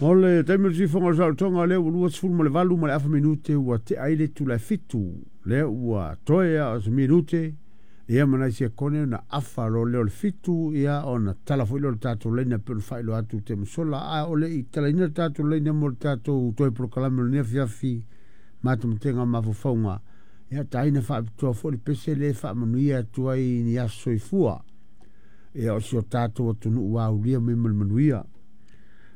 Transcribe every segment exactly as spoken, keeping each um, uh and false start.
O le taimi o le siufofoga o le saolotoga lea ua luasefulu ma le valu ma le afa minute ua tea ai le itula e fitu. Lea ua toe a o se minute ia ma nai sekone ona afa loa lea o le fitu, ia ona tala foi lea o le tatou laina e pei ona faailoa atu i taimi sola. A o le i talaina le tatou laina mo le tatou toe polokalame o lenei afiafi matamatega o mafaufauga, ia taina faapitoa foi le pese lea e faamanuia atu ai ni aso soifua ia o si o tatou atunuu ua aulia mai ma le manuia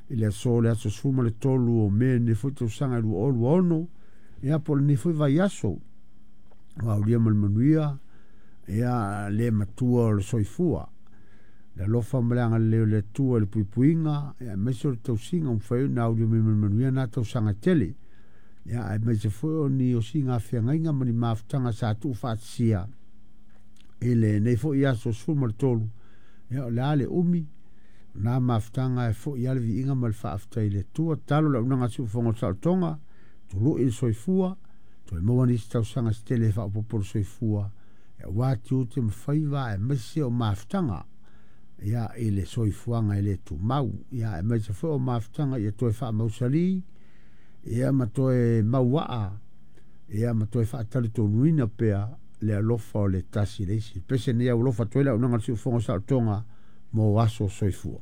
i le aso le aso sefulu ma le tolu o Me lenei foi tausaga e lua o lua ono, ia po o lenei foi vaiaso ua aulia ma le manuia ia le matua o le soifua, le alofa ma le agalelei o le Atua i le puipuiga ia aemaise o le tausiga ua mafai ona aulia mai ma le manuia na tausaga tele, ia aemaise foi o ni osiga feagaiga ma ni mafutaga sa tuufaatasia i lenei foi aso sefulu ma le tolu, ia o le a le umi na mafutaga e foi a le viiga ma le faafetai i le Atua. Talo le auaunaga a siufofoga o le saolotoga, tului le soifua, toe maua nisi tausaga se tele e faaopoopo le soifua, aua tiute ma faiva aemaise o mafutaga ia i le soifuaga e le tumau, ia aemaise foi o mafutaga ia toe faamausali ia ma toe mauaa ia ma toe faatalitonuina pea le alofa o le tasi i le isi. Pese nei au alofa atu ai le auaunaga a le siufofoga o le saolotoga mo aso soifua.